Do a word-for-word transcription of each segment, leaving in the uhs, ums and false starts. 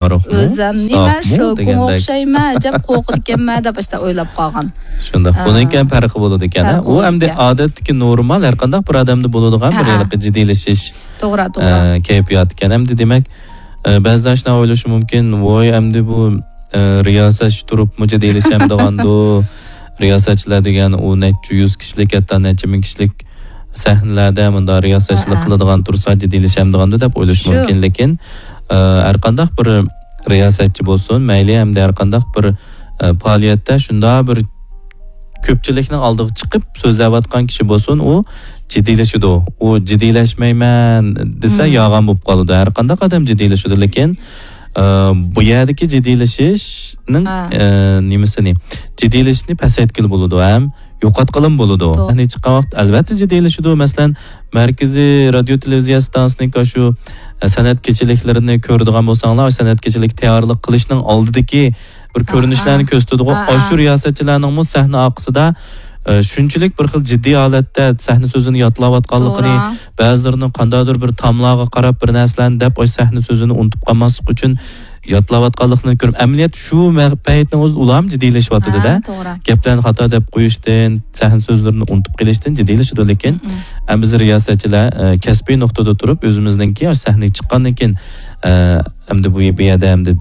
ئارىقمۇ؟ ئۆزەم نېمە، ساقمۇ شوكۇڭ دېگەندەك. ئوخشايمەن، ئەجەب قورقىدىكەنمەن دەپ ئاشتا ئويلاپ قالغان. شۇنداق. ئا، بۇنىڭكى ھەم پەرقى بولىدىكەن، ھە؟ پەرقى ئۇ ئەمدى بولىدىكەن. ئادەتتىكى نورمال، ھەر قانداق بىر ئادەمدە بولىدىغان بىر ھە، ھە. ھېلىقى جىددىيلىشىش، توغرا، توغرا. ئە، كەيپىياتىكەن. ئەمدى دېمەك، ئە، بەزىلەر شۇنداق ئويلىشى مۇمكىن، ۋوي، ئەمدى بۇ، ئە، رىياسەتچى تۇرۇپمۇ جىددىيلىشەمدىغاندۇ؟ رىياسەتچىلەر دېگەن ئۇ نەچچە يۈز كىشىلىك، ھەتتا نەچچە مىڭ كىشىلىك سەھنىلەردە مۇنداق رىياسەتچىلىك ھە، ھە. قىلىدىغان تۇرسا جىددىيلىشەمدىغاندۇ دەپ ئويلىشى شۇ. مۇمكىن. لېكىن، ئە، ھەر قانداق بىر رىياسەتچى بولسۇن، مەيلى ھەمدە ھەر قانداق بىر، ئە، پائالىيەتتە شۇنداق بىر كۆپچىلىكنىڭ ئالدىغا چىقىپ سۆزلەۋاتقان كىشى بولسۇن، ئۇ جىددىيلىشىدۇ. ئۇ جىددىيلەشمەيمەن دېسە، مم. يالغان بولۇپ قالىدۇ. ھەر قانداق ئادەم جىددىيلىشىدۇ، لېكىن، ئە، بۇ يەردىكى جىددىيلىشىشنىڭ، ھە. ئە، نېمىسىنى، جىددىيلىشىشنى پەسەيتكىلى بولىدۇ ھەم يوقاتقىلىمۇ بولىدۇ. توغرا. يەنى چىققان ۋاقىت، ئەلۋەتتە، جىددىيلىشىدۇ. مەسىلەن، مەركىزىي رادىيو تېلېۋىزىيە ئىستانسىسىنىڭكى شۇ، ئە، سەنئەت كېچىلىكلىرىنى كۆرىدىغان بولساڭلار، سەنئەت كېچىلىك تەييارلىق قىلىشنىڭ ئالدىدىكى بىر ھە، كۆرۈنۈشلەرنى ھە. كۆرسىتىدىغۇ. ھە، ئاشۇ ھە. رىياسەتچىلەرنىڭمۇ سەھنە ئارقىسىدا، ئە، شۇنچىلىك بىر خىل جىددىي ھالەتتە سەھنە سۆزىنى ياتلاۋاتقانلىقىنى، توغرا. بەزىلىرىنىڭ قانداقتۇر بىر تاملارغا قاراپ بىر نەرسىلەرنى دەپ، ئاشۇ سەھنە سۆزىنى ئۇنتۇپ قالماسلىق ئۈچۈن ياتلاۋاتقانلىقىنى كۆرۈپ، ئەمەلىيەتتە شۇ مە-، پەيتنىڭ ئۆزىدە ئۇلارمۇ جىددىيلىشىۋاتىدۇ-دە. ھە، توغرا. گەپلەرنى خاتا دەپ قويۇشتىن، سەھنە سۆزلىرىنى ئۇنتۇپ قېلىشتىن جىددىيلىشىدۇ. لېكىن مم. ئەمما بىز رىياسەتچىلەر، ئە، كەسپىي نۇقتىدا تۇرۇپ، ئۆزىمىزنىڭكى سەھنىگە چىققاندىن كېيىن، ئە، ئەمدى بۇ، بۇ يەردە ئەمدى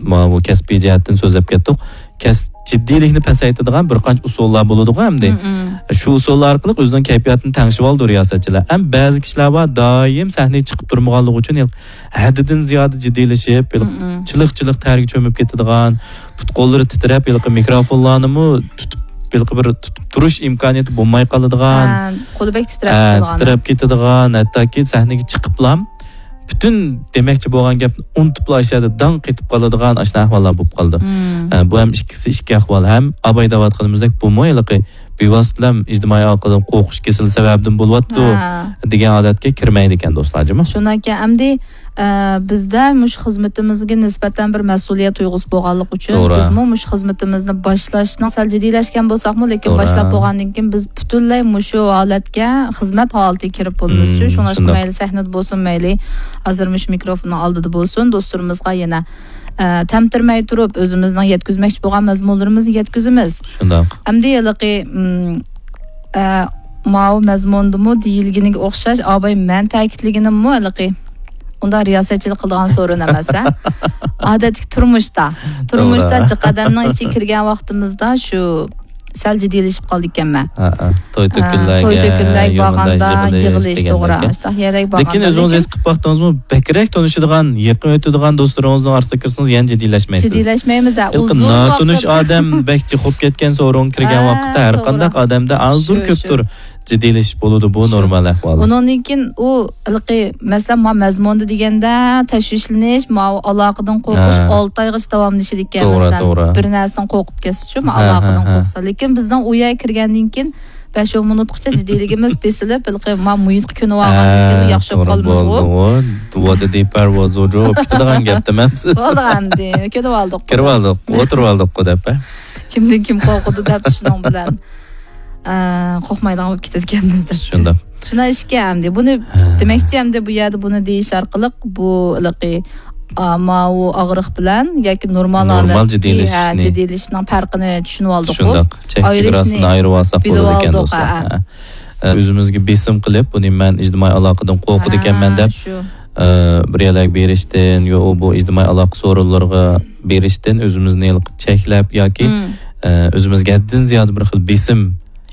ماۋۇ كەسپىي جەھەتتىن سۆزلەپ كەتتۇق. كەس-، جىددىيلىكنى پەسەيتىدىغان بىر قانچە ئۇسۇللار بولىدىغۇ ئەمدى. مم، مم. شۇ ئۇسۇللار ئارقىلىق ئۆزىنىڭ كەيپىياتىنى تەڭشىۋالىدۇ رىياسەتچىلەر. ئەمما بەزى كىشىلەر بار، دائىم سەھنىگە چىقىپ تۇرمىغانلىقى ئۈچۈن ھەددىدىن زىيادە جىددىيلىشىپ، ھېلىقى مم، مم. چىلىق-چىلىق تەرگە چۆمۈپ كېتىدىغان، پۇت-قوللىرى تىترەپ، ھېلىقى مىكروفونلارنىمۇ تۇتۇپ، ھېلىقى بىر تۇتۇپ تۇرۇش ئىمكانىيىتى بولماي قالىدىغان. ھە، قولى بەك تىترەپ ھە، كېتىدىغان. تىترەپ كېتىدىغان، ھەتتاكى سەھنىگە چىقىپلا پۈتۈن دېمەكچى بولغان گەپنى ئۇنتۇپلا ئاشۇ يەردە داڭ قېتىپ قالىدىغان ئاشۇنداق ئەھۋاللار بولۇپ قالىدۇ. مم. ئە، بۇ ھەم ئىككىسى ئىككى ئەھۋال. ھەم ئاباي دەۋاتقىنىمىزدەك بۇمۇ ھېلىقى بىۋاسىتىلەم ئىجتىمائىي ئالاقىدىن قورقۇش كېسىلى سەۋەبىدىن بولۇۋاتىدۇ ھە. دېگەن ھالەتكە كىرمەيدىكەن دوستلار، جۇمۇ. شۇنداكەن، ئەمدى، ئە، بىزدە مۇشۇ خىزمىتىمىزگە نىسبەتەن بىر مەسئۇلىيەت تۇيغۇسى بولغانلىقى ئۈچۈن، توغرا. بىزمۇ مۇشۇ خىزمىتىمىزنى باشلاشنىڭ سەل جىددىيلەشكەن بولساقمۇ، لېكىن توغرا. باشلاپ بولغاندىن كېيىن بىز پۈتۈنلەي مۇشۇ ھالەتكە خىزمەت ھالىتىگە كىرىپ بولىمىز. مم، شۇڭلاشقا شۇنداق. مەيلى سەھنىدە بولسۇن، مەيلى ھازىر مۇشۇ مىكروفوننىڭ ئالدىدا بولسۇن، دوستلىرىمىزغا يەنە، ئە، تەمتىرىمەي تۇرۇپ، ئۆزىمىزنىڭ يەتكۈزمەكچى بولغان مەزمۇنلىرىمىزنى يەتكۈزىمىز. شۇنداق. ئەمدى ھېلىقى، مم، ئە، ماۋۇ مەزمۇندىمۇ دېيىلگىنىگە ئوخشاش، ئاباي مەن تەكىتلىگىنىممۇ ھېلىقى ئۇنداق رىياسەتچىلىك قىلىدىغان سورۇن ئەمەس، ھە؟ ئادەتتىكى تۇرمۇشتا. تۇرمۇشتا توغرا. جىق ئادەمنىڭ ئىچىگە كىرگەن ۋاقتىمىزدا شۇ سەل جىددىيلىشىپ قالىدىكەنمەن. ھە، ھە. توي ھە، تۆكۈنلەرگە، توي تۆكۈنلەرگە يا بارغاندا مۇنداق يىغىلىش، يىغىلىش توغرا. دېگەندەك. ئاشۇنداق يەرلەرگە لېكىن بارغاندا. ئۆزىڭىز لېكىن ھېس قىلىپ باقتىڭىزمۇ، بەكرەك تونۇشىدىغان، يېقىن ئۆتىدىغان دوستلىرىڭىزنىڭ ئارىسىغا كىرسىڭىز يەنە جىددىيلەشمەيسىز. جىددىيلەشمەيمىز، ھە، ھېلىقى ئۇزۇن ناتونۇش ۋاقىت. ئادەم بەك جىق بولۇپ كەتكەن سورۇنغا كىرگەن ھە، ۋاقىتتا ھەر توغرا. قانداق ئادەمدە ئازدۇر شۇ، شۇ. كۆپتۇر جىددىيلىشىپ بولىدۇ، بۇ شۇ. نورمال ئەھۋال. ئۇنىڭدىن كېيىن ئۇ ھېلىقى، مەسىلەن، ما مەزمۇندا دېگەندە تەشۋىشلىنىش، ماۋۇ ئالاقىدىن قورقۇش ھە. ئالتە ئايغىچە داۋاملىشىدىكەن، توغرا، مەسىلەن. توغرا. بىر نەرسىدىن قورقۇپ كەتسىچۇ، ما ھە، ئالاقىدىن ھە، ھە. قورقسا. لېكىن بىزنىڭ ئۇ يەرگە كىرگەندىن كېيىن بەش ئون مىنۇتقىچە جىددىيلىكىمىز بېسىلىپ، ھېلىقى ما مۇھىتقا كۆنۈۋالغاندىن كېيىن ھە، ياخشى بولۇپ توغرا، قالىمىزغۇ. بولدىغۇ. ۋادىدى پەرۋازۇ جۇ، كېتىدىغان گەپ دېمەمسىز. بولدى ئەمدى، كۆنۈۋالدۇق. كىرىۋالدۇق، ئولتۇرۇۋالدۇققۇ دەپ، ھە؟ كىمدىن كىم قورقىدۇ دەپ شۇنىڭ بىلەن. ئە، قورقمايدىغان بولۇپ كېتىدىكەنمىز دەپ. شۇنداق. شۇنداق ئىشكەن ئەمدى. بۇنى ھە. دېمەكچى ئەمدى بۇ يەردە بۇنى دېيىش ئارقىلىق بۇ ھېلىقى، ئا، ماۋۇ ئاغرىق بىلەن ياكى نورمال نورمال ھالەتتىكى، ھە، جىددىيلىشىشنى. جىددىيلىشىشنىڭ پەرقىنى چۈشىنىۋالدۇققۇ. شۇنداق. چەك ئايرىشنى چېگراسىنى ئايرىۋالساق بولىدىكەن بىلىۋالدۇق، دوستلار. ھە. ھە. ئە، ئۆزىمىزگە بېسىم قىلىپ، بۇنى مەن ئىجتىمائىي ئالاقىدىن قورقىدىكەنمەن ھە، دەپ، شۇ. ئە، بىر يەرلەرگە بېرىشتىن، يو، بۇ ئىجتىمائىي ئالاقە سورۇنلىرىغا بېرىشتىن ئۆزىمىزنى چەكلەپ ياكى، مم. ئە، ئۆزىمىزگە ھەددىدىن زىيادە بىر خىل بېسىم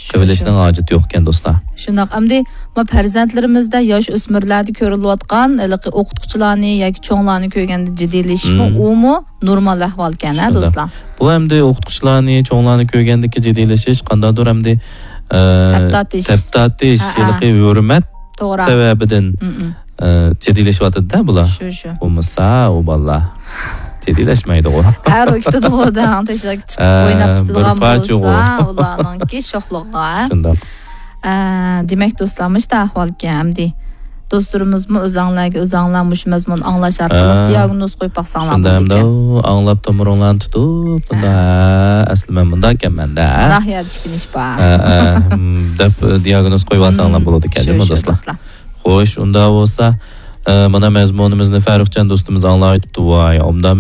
شۇ، قىلىۋېلىشنىڭ شۇ. ھاجىتى يوق ئىكەن، دوستلار. شۇنداق. ئەمدى ما پەرزەنتلىرىمىزدە، ياش ئۆسمۈرلەردە كۆرۈلۈۋاتقان ھېلىقى ئوقۇتقۇچىلارنى ياكى چوڭلارنى كۆرگەندە جىددىيلىشىشمۇ، مم. ئۇمۇ نورمال ئەھۋالكەن، ھە، شۇنداق. دوستلار؟ بۇ ئەمدى ئوقۇتقۇچىلارنى، چوڭلارنى كۆرگەندىكى جىددىيلىشىش قانداقتۇر ئەمدى، ئە، تەپ تارتىش. تەپ تارتىش، ھە، ھە. ھېلىقى ھۆرمەت توغرا. سەۋەبىدىن، مم، مم. ئە، جىددىيلىشىۋاتىدۇ-دە بۇلار. شۇ، شۇ. بولمىسا ئۇ بالىلار جىددىيلەشمەيدىغۇ. ھە، روھ كېتىدىغۇ، دەڭ، تەشۋىقكە چىقىپ ئە، ئويناپ بىر كېتىدىغان پارچىغۇ. بولسا، ئۇلارنىڭكى شوخلۇقىغا. شۇنداق. ئە، دېمەك، دوستلار، مۇشۇنداق ئەھۋالكەن ئەمدى. دوستلىرىمىزمۇ ئۆزەڭلارگە ئۆزەڭلار مۇشۇ مەزمۇننى ئاڭلاش ئارقىلىق ھە. دىياگنوز قويۇپ باقساڭلار شۇنداق بولىدىكەن. ئەمدى ئاڭلاپ تومۇرۇڭلارنى تۇتۇپ، بۇندا، ھە. ھە، ئەسلى مەن مۇنداكەنمەن-دە، ھە. ناھىيەتە ئىككىنچى بار. ھە، ھە، ھىم، دەپ، دىياگنوز قويۇۋالساڭلار ھىم، بولىدىكەن، شۇ، جۇمۇ شۇ، دوستلار. دوستلار. خوش، ئۇندا بولسا، ئە، مانا مەزمۇنىمىزنى فەرۇقجان دوستىمىز ئاڭلاۋېتىپتۇ. ۋاي، ئوبدان